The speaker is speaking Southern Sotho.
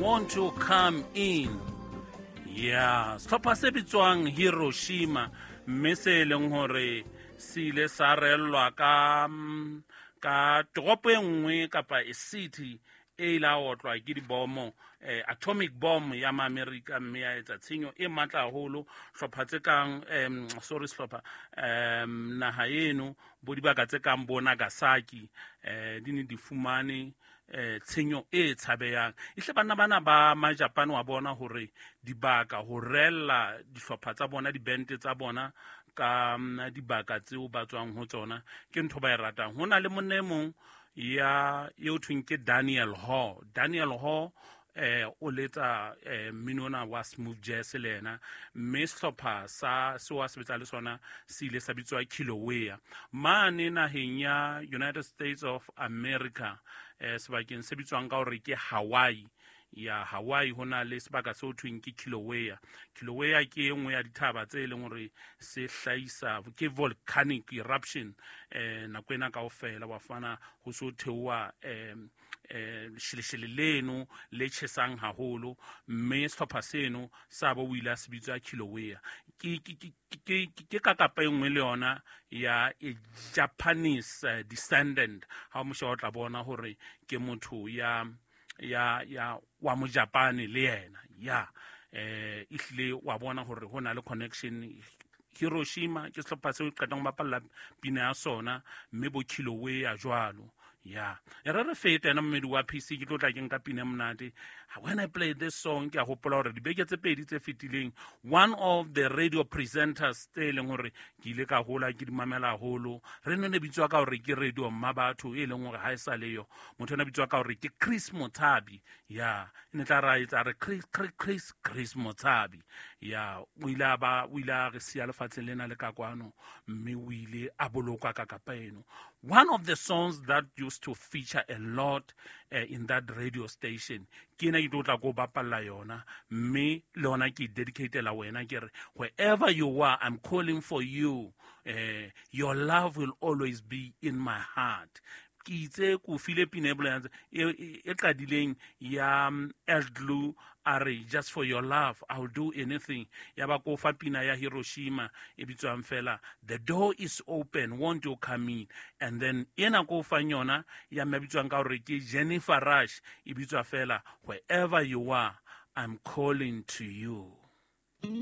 Won't You Come In. Ya sehlopha se bitswang Hiroshima, mme se e leng hore se ile sa rellwa ka toropo e nngwe kapa e city e ile a otlwa ke dibomo, atomic bomb ya Maamerika, mme ya etsa tshenyo e matla haholo. Hlopha tse kang sorry, sehlopha naha eno bo dibaka tse kang bo Nagasaki di ne di fumane tshenyo e tshabehang. Ehle banna bana ba Majapane wa bona hore dibaka ho rella dihlopha tsa bona, dibente tsa bona ka dibaka tseo ba tswang ho tsona ke ntho ba e ratang. Ho na le monna e mong ya eo thweng ke Daniel Hall. Daniel Hall o letsa mmino ona wa smooth jazz le yena, mme sehlopha sa seo a sebetsa le sona se ile sa bitswa Kilauea mane naheng ya United States of America, sebakeng se bitswang ka hore ke Hawaii. Ya Hawaii ho na le sebaka seo thweng ke Kilauea. Kilauea ke e nngwe ya dithaba tse leng hore se hlahisa ke volcanic eruption nako ena kaofela wa fana ho so theoha lesheleshele leno le tjhesang haholo, mme sehlopha seno sa bo o ile a se bitswa Kilauea. Ke ka kapa e nngwe le yona ya e Japanese descendant. Ha o mosha o tla bona hore ke motho ya wa Mojapane le yena ya ehlile wa bona hore ho na le connection. Hiroshima ke sehlopha seo qetang ho bapalla pina ya sona, mme bo Kilauea jwalo. Ya e re re fete ena mmedi wa PC, ke tlo tla ke nka pina e monate. When I play this song ke a hopola hore dibeke tse pedi tse fetileng one of the radio presenters tse leng hore ke ile ka hola ke di mamela haholo, re ne bitswa ka hore ke radio mma batho e leng hore ha e sa leyo, motho ena bitswa ka hore ke Chris Mothabi. Ya e ne tla ra etsa re Chris, Chris, Chris, Chris Mothabi. Ya o ile a ba, o ile a re siya lefatsheng lena le ka kwano, mme o ile a bolokwa ka kapa eno. One of the songs that used to feature a lot in that radio station ke ena ke tlo tla ko bapalla yona, mme le yona ke dedicatela wena, ke re wherever you are, I'm calling for you, your love will always be in my heart. Ke itse ko file pina e bolelang e qadileng ya Eldlu a re just for your love I'll do anything. Ya ba ko fa pina ya Hiroshima e bitswang fela the door is open, won't you come in. And then ena ko fang yona ya mme bitswang ka hore ke Jennifer Rush e bitswa fela wherever you are, I'm calling to you.